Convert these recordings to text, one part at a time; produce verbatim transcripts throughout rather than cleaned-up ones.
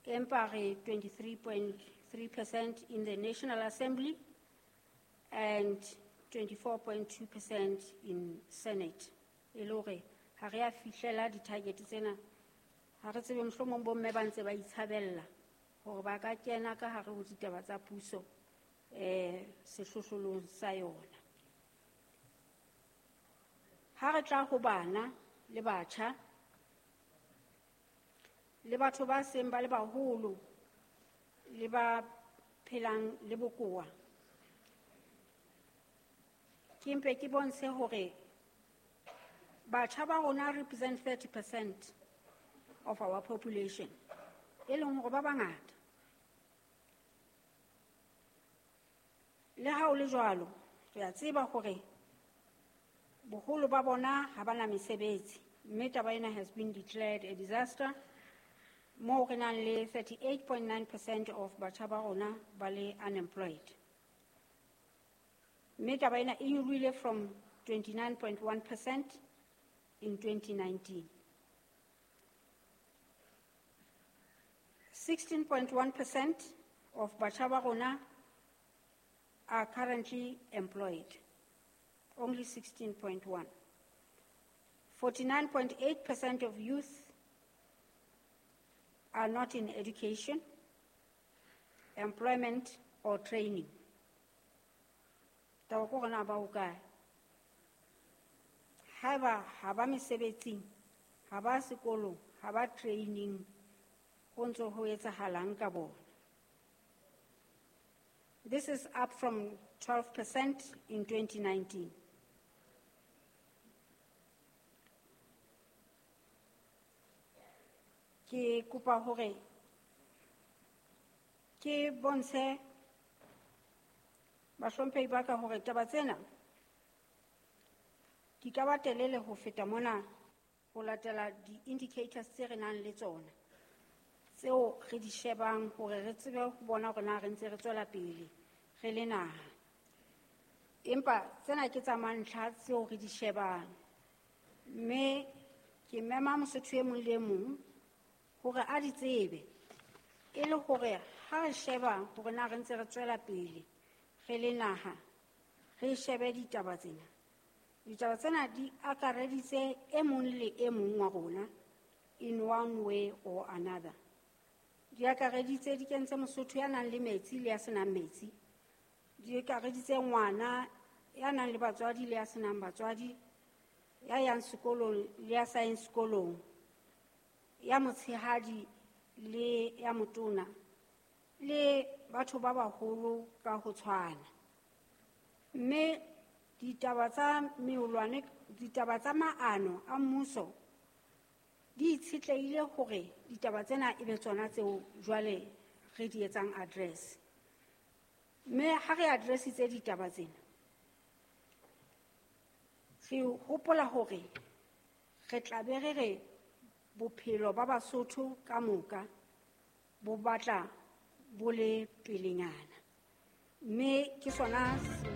Empa re twenty-three point three percent in the National Assembly and twenty-four point two percent in Senate. E le hore ha re a fihlela di-target tsena, ha re tsebe mohlomong bomme ba ntse ba itshabella hore ba ka kena ka hare ho ditaba tsa puso, eh, sehlohlolong sa yona. Ha re tla ho bana le batjha le batho ba seng ba le baholo le ba phelang le bokowa, ke mpe ke bontshe hore batjha ba rona represent thirty percent of our population, e leng hore ba bangata. Le ha ho le jwalo, re a tseba hore boholo ba bona ha ba na mesebetsi, mme taba ena has been declared a disaster, moo re nang le thirty-eight point nine percent of batjha ba rona ba le unemployed. Mme taba ena e nyolohile from twenty-nine point one percent in twenty nineteen. sixteen point one percent of batjha ba rona are currently employed, only sixteen point one. forty-nine point eight percent of youth are not in education, employment, or training. Taba ke hore na ba hokae? Haeba ha ba mesebetsing, ha ba sekolong, ha ba training, ho ntso ho etsahalang ka bona? This is up from twelve percent in twenty nineteen. Ke kopa hore ke bontshe bahlomphehi ba ka hore taba tsena di ka ba telele ho feta mona ho latela di-indicators tse re nang le tsona, tseo re di shebang hore re tsebe ho bona hore na re ntse re tswela pele re le naha. Empa tsena ke tsa mantlha tseo re di shebang, mme ke mema Mosotho e mong le e mong hore a di tsebe, e le hore ha re sheba hore na re ntse re tswela pele re le naha, re shebe ditaba tsena. Ditaba tsena di akareditse e mong le e mong wa rona in one way or another. Di akareditse, di kentse Mosotho ya nang le metsi le ya senang metsi, di akareditse ngwana ya nang le batswadi le ya senang batswadi, ya yang sekolong le ya sa yeng sekolong, ya motshehadi le ya motona, le batho ba baholo ka ho tshwana. Mme ditaba tsa meolwane, ditaba tsa maano a mmuso di itshetlehile hore ditaba tsena e be tsona tseo jwale re di etsang address. Mme ha re addressitse ditaba tsena, re hopola hore re tla be re re bophelo ba Basotho ka moka bo batla bo le pelenyana. Mme ke sona se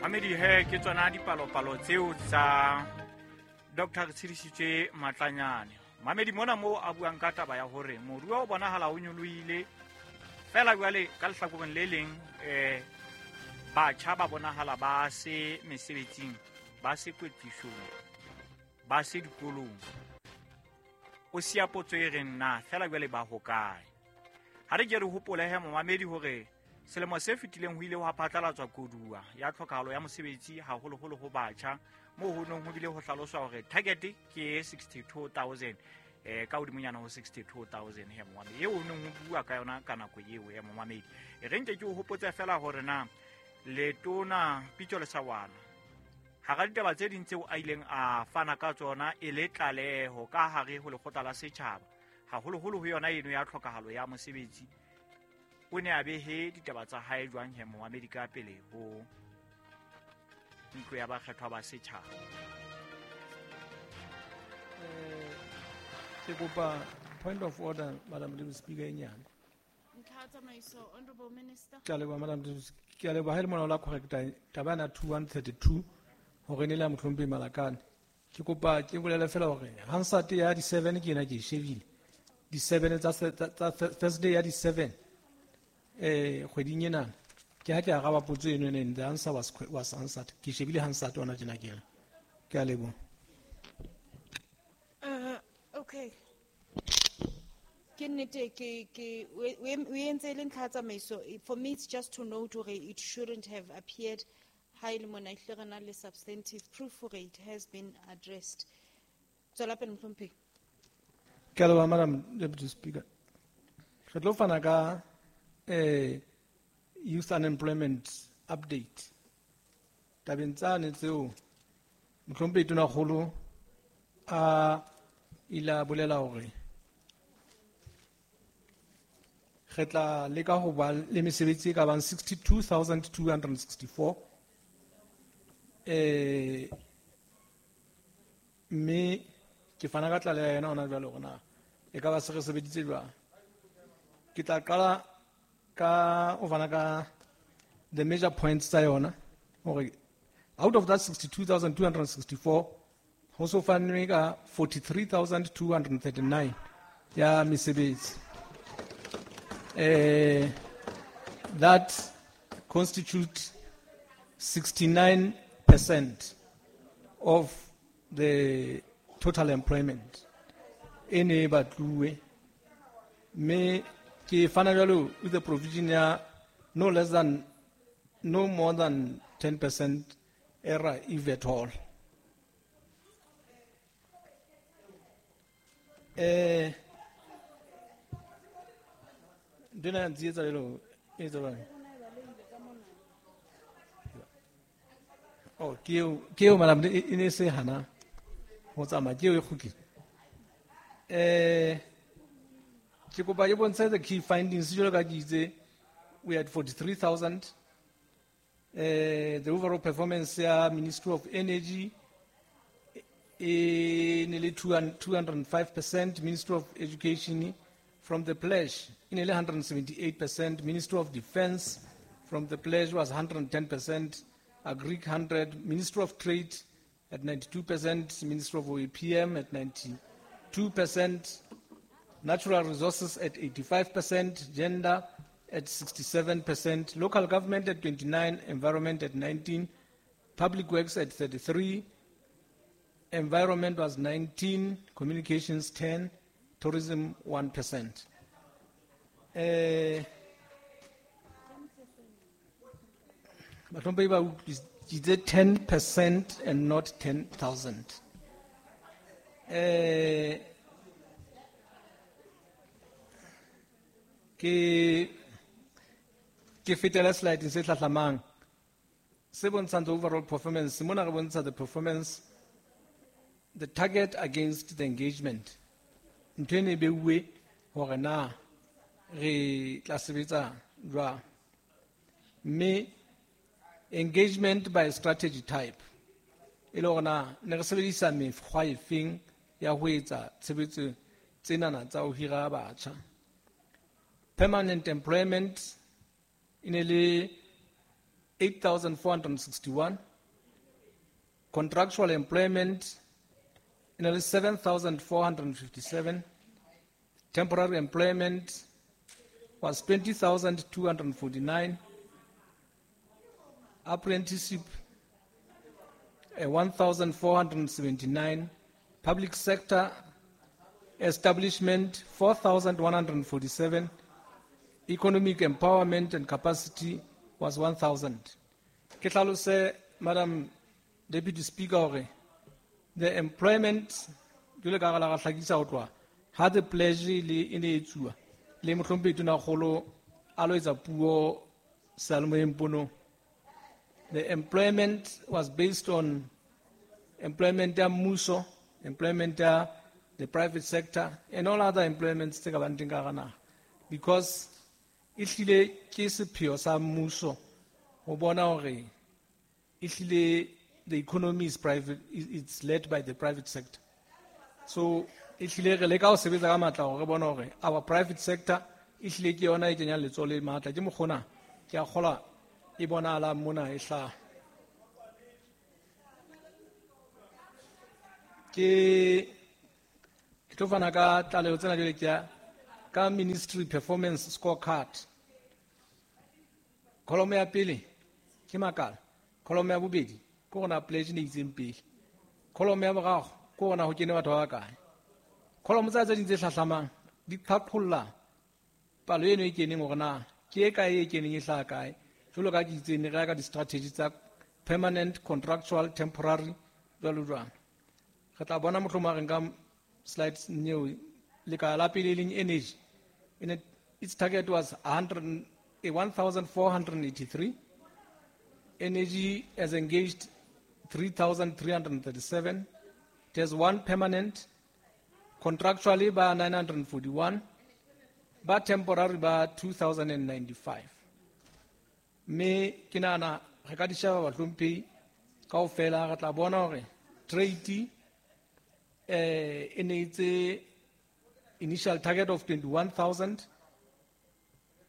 Mamedi he, ke tsona dipalopalo tseo tsa Doctor Tshedisitse Matlanyane. Mamedi mona moo a buang ka taba ya hore moruo o bonahala o nyolohile, fela jwale ka lehlakoreng le leng, eh, batjha ba bonahala ba se mesebetsing, ba se kwetlisong, ba se dikolong. O siya potso e reng na fela jwale ba hokae? Ha re ke re hopole he momamedi hore selemo se fetileng ho ile hwa phatlalatswa koduwa ya tlhokahalo ya mosebetsi haholoholo ho batjha, moo ho neng ho bile ho hlaloswa hore target ke sixty-two thousand, eh, ka hodimonyana ho sixty-two thousand he momamedi, eo ho neng ho bua ka yona ka nako eo he momamedi. E re nke ke o hopotse fela hore na letona Pitso Lesawana hara ditaba tse ding tseo a ileng a fana ka tsona e le tlaleho ka hare ho lekgotla la setjhaba, haholoholo ho yona eno ya tlhokahalo ya mosebetsi, o ne a behe ditaba tsa hae jwang he momamedi ka pele ho ntlo ya bakgethwa ba setjhaba? Eh, ke kopa point of order, Madam Deputy Speaker, e nyane. Ntlha tsamaiso, Honorable Minister. Ke a leboha, Madam Deputy Speaker. Ke a leboha ha e le mona o la correcta taba ena two one thirty-two hore ne le ya mohlomphehi Malakane. Ke kopa ke bolele fela hore Hansard ya di seven ke ena ke e shebile. di seven tsa tsa Thursday ya di seven eh kgweding ena ke ha ke araba potso eno ene the answer was was answered ke shebile Hansard ona tjena ke ke a leboha. Uh, okay. Ke nnete ke ke o entse le ntlha tsamaiso. For me it's just to note hore it shouldn't have appeared ha ile mona ehlile re na le substantive proof hore it has been addressed. Tswela pele mohlomphehi. Ke a leboha Madam Deputy Speaker. Re tlo fana ka eh youth unemployment update. Tabeng tsane tseo mohlomphehi Tonakgolo a ile a bolela hore re tla leka ho ba le mesebetsi e ka bang sixty-two thousand two hundred sixty-four eh mme ke fana ka tlaleho ya yona hona jwale hore na e ka ba se re sebeditse jwang. Ke tla qala ka o fana ka the major points tsa yona hore out of that sixty-two thousand two hundred sixty-four ho so fanwe ka forty-three thousand two hundred thirty-nine ya mesebetsi. Eh, that constitutes sixty-nine percent of the total employment. E ne e batluwe. Mme ke fana jwalo with the provision ya no less than, no more than ten percent error if at all. Eh, Dena ya ntsietsa lelo, e etsa jwang? Oh, ke eo, ke eo, madam, e, e ne se hana ho tsamaya, ke eo e kgutlile. Eh, ke kopa ke bontshe the key findings jwalo ka ke itse, we had forty-three thousand. Eh, the overall performance ya Ministry of Energy e ne le two hundred five percent, Ministry of Education from the pledge e ne le hundred seventy-eight percent, Ministry of Defense from the pledge was hundred ten percent, Agric hundred, Ministry of Trade at ninety-two percent, Ministry of O E P M at ninety-two percent, Natural Resources at eighty-five percent, Gender at sixty-seven percent, Local Government at twenty-nine, Environment at nineteen, Public Works at thirty-three, Environment was nineteen, Communications ten, Tourism one percent. Eh, Bahlomphehi ba utlwisitse ten percent and not ten thousand. Eh, ke, ke fetela slide se hlahlamang se bontshang the overall performance. Mona re bontsha the performance, the target against the engagement. Ntho ene e beuwe hore na re tla sebetsa jwang. Mme engagement by strategy type e le hore na ne re sebedisa mekgwa efeng ya ho etsa tshebetso tsenana tsa ho hira batjha. Permanent employment e ne le eight thousand four hundred sixty-one. Contractual employment e ne le seven thousand four hundred fifty-seven. Temporary employment was twenty thousand two hundred forty-nine. Apprenticeship, eh, one thousand four hundred seventy-nine. Public sector establishment, four thousand one hundred forty-seven. Economic empowerment and capacity was one thousand. Ke hlalose, Madam Deputy Speaker, hore the employment, jwalo ka ha re la ra hlakisa ho tloha, ha the pledge le e ne e etsuwa, le mohlomphehi Tonakgolo a lo etsa puo seyalemoyeng ponong. The employment was based on employment ya mmuso, employment ya the private sector, and all other employments tse ka bang teng ka hara naha. Because ehlile ke sepheo sa mmuso ho bona hore ehlile the economy is private, it's led by the private sector. So ehlile re leka ho sebetsa ka matla hore re bone hore our private sector ehlile ke yona e kenyang letsoho le matla. Ke mokgona ke a kgolwa e bonahalang mona e hlaha. Ke, ke tlo fana ka tlaleho tsena jwale ke ya ka ministry performance scorecard. Column ya pele ke makala, column ya bobedi ke gona pledge ne itseng pele, column ya boraro ke gona ho kene batho ba bakae. Column tsa tse ding tse hlahlamang di qhaqholla palo eno e keneng hore na ke e kae e keneng e hlaha kae. Jwalo ka ke itseng re ya ka di-strategy tsa permanent, contractual, temporary jwalo jwalo. Re tla bona mohlomong ha re nka slides neo lekala la pele e leng energy. In it, its target was a hundred, one thousand four hundred eighty-three. Energy has engaged three thousand three hundred thirty-seven. It has one permanent, contractually by nine hundred forty-one, but temporary by two thousand ninety-five. Me ke nahana re ka di sheba bahlomphehi kaofela, re tla bona hore trade, eh, e ne itse initial target of twenty-one thousand,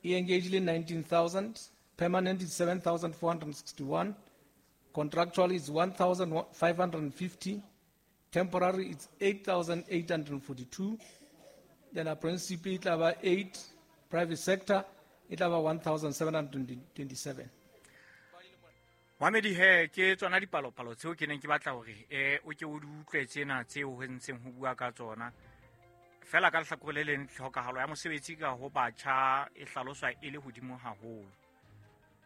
e engaged nineteen thousand, permanent is seven thousand four hundred sixty-one, contractual is one thousand five hundred fifty, temporary is eight thousand eight hundred forty-two, then apprenticeship e tla ba eight, private sector e tla ba one thousand seven hundred twenty-seven. Mamedi he ke tsona dipalopalo tseo ke neng ke batla hore eh o ke o di utlwe tsena tseo ho ntseng ho bua ka tsona. Fela ka lehlakore le leng tlhokahalo ya mosebetsi ka ho batjha e hlaloswa e le hodimo haholo.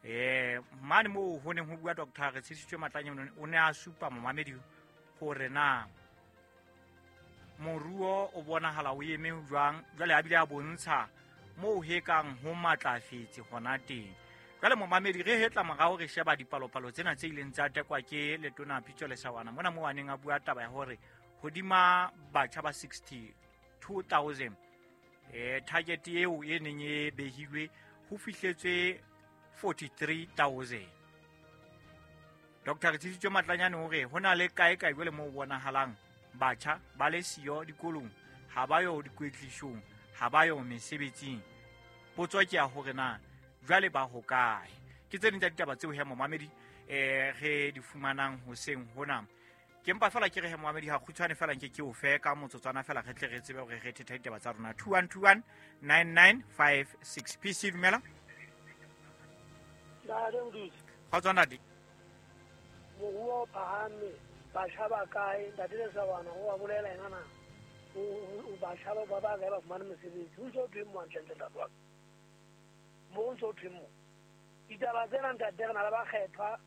Eh mane moo ho neng ho bua Doctor Retshedisitswe Matlanyane o ne a supa momamedi hore na moruo o bonahala o eme jwang, jwale a bile a bontsha moo he kang ho matlafetse hona teng. Jwale momamedi re hetla morao re sheba dipalopalo tsena tse ileng tsa tekwa ke letona Pitso Lesawana mona moo a neng a bua taba ya hore hodima batjha ba sixty-two thousand eh target eo e neng e behilwe ho fihletswe forty-three thousand. Doctor Retshedisitswe Matlanyane hore ho na le kae kae jwale moo bonahalang batjha ba le siyo dikolong, ha ba yo dikwetlisong, ha ba yo mesebetsing. Potso ke ya hore na jwale ba ho kae. Ke tse ding tsa ditaba tseo he momamedi eh re di fumanang hoseng hona. Ke mpa fela ke re he momamedi ha kgutshwane fela nke ke o fe ka motsotswana fela re tle re tsebe hore re thetha ditaba tsa rona. Two one two one nine nine five six. P C dumela. Ntate Modusi. Kgotso ntate. Moruo o phahame, batjha ba kae? Ntate Lesawana o a bolela ena na. O batjha ba ba kae ba fumane mesebetsi? Ho ntso thweng mo hantlentle ntate wa ka? Mo ntso thweng mo? Ditaba tsena ntate re na le bakgethwa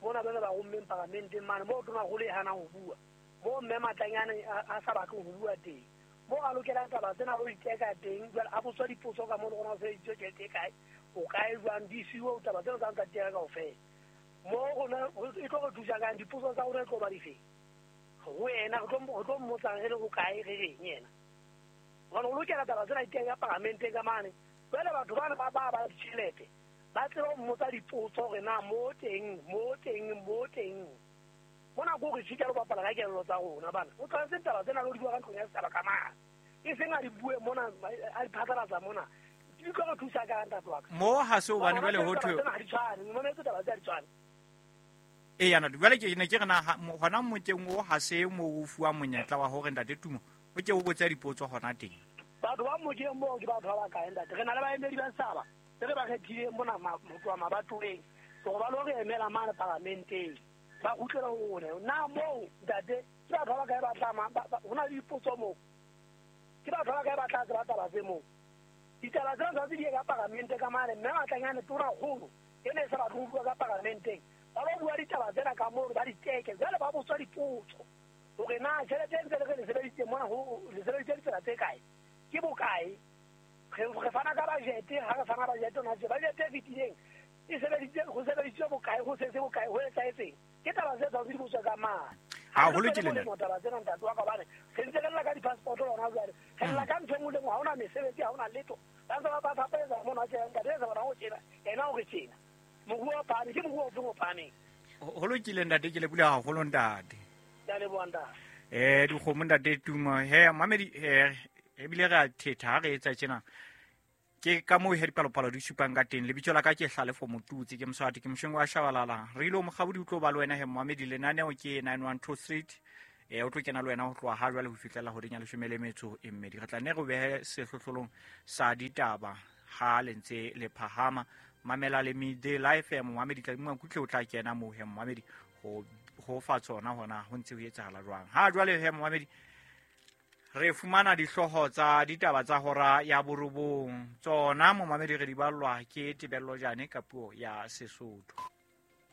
mona ba ne ba rommeng paramenteng mane moo tonakgolo e hanang ho bua, moo mme Matlanyane a sa batleng ho bua teng, moo a lokelang taba tsena o iteka teng. Jwale a botswa dipotso ka moo le rona o sebedisitswe tjhelete e kae, o kae jwang, di siuwe taba tsena tsa ntate re kaofela. Mo rona e tlo re thusa kang? Dipotso tsa rona e tlo ba difeng ho yena? Re tlo mmotsang re le ho kae, re reng yena? Hobane o lokela taba tsena di teng ka paramenteng ka mane. Jwale batho bana ba ba ba ditjhelete ba tseba ho mmotsa dipotso hore na mo teng, mo teng, mo teng. Mona ko re tjhitja le ho bapala ka kelello tsa rona bana. O tshwanetse taba tsena le ho di bua ka ntlong ya setjhaba ka mane, e seng a di bue mona, a di phatlalatsa mona. Di tlo re thusa ka ntate wa ka? Mo ha se hobane jwale ho thwe ha di tshwane, mona tse taba tse ha di tshwane. E yana jwale ke ne ke re na hona mokeng o ha se mo o fuwa monyetla wa hore ntate Tumo o ke o botse dipotso hona teng. Batho ba mokeng moo ke batho ba bakae ntate? Re na le baemedi ba setjhaba tse re ba kgethileng mona ho tloha mabatoweng hore ba lo re emela mane paramenteng, ba kgutlela ho rona. Na moo ntate ke batho ba bakae ba tla ho na le dipotso moo? Ke batho ba bakae ba tla tseba taba tse moo? Ditaba tsena tshwanetse di ye ka paramente ka mane. Mme Matlanyane tonakgolo e ne e sa batle ho bua ka paramenteng, ba lo bua ditaba tsena ka moo ba di teke. Jwale ba botswa dipotso hore na tjhelete e ntse le re le sebedisitse mona, ho le sebedisitse ditsela tse kae, ke bokae? Re fana ka budget, ha re fana budget ona tje budget e fetileng e sebeditse ho sebedisitswe bokae, ho setse bokae, ho etsahetseng? Ke taba tse tshwanetse di botswe ka mane. Haholo ke lena taba tsena ntate wa ka, hobane re ntse re lla ka di-passport rona jwale, re lla ka ntho e nngwe le nngwe, ha hona mesebetsi, ha hona letho. Ba ntse ba ba fapetsa mona tje ntate Lesawana o tjena, yena o re tjena. Moruo o phahame, ke moruo ofe o phahameng? Ho lokile ntate, ke lebohile haholo ntate. Ke a leboha ntate. Eh dikgomo ntate Tumo he mamedi eh ebile re a thetha ha re etsa tjena. Ke ka moo he dipalopalo di supang ka teng. Lebitso la ka ke Hlalefo Motutsi, ke Moswati, ke Mosheng wa Shabalala. Re ile mokgabodi o tlo ba le wena he momamedi. Lenaneo ke nine one two Street. E o tlo kena le wena ho tloha ha jwale ho fihlela horeng ya leshome le metso e mmedi. Re tla nne re behe sehlohlolong sa ditaba ha le ntse le phahama. Mamela le Midday Live, momamedi Tladi Makutle o tla kena moo he momamedi ho ho fa tsona hona ho ntse ho etsahala jwang. Ha jwale he momamedi re fumana dihlooho tsa ditaba tsa hora ya borobong. Tsona momamedi re di ballwa ke Tebello Jane ka puo ya Sesotho.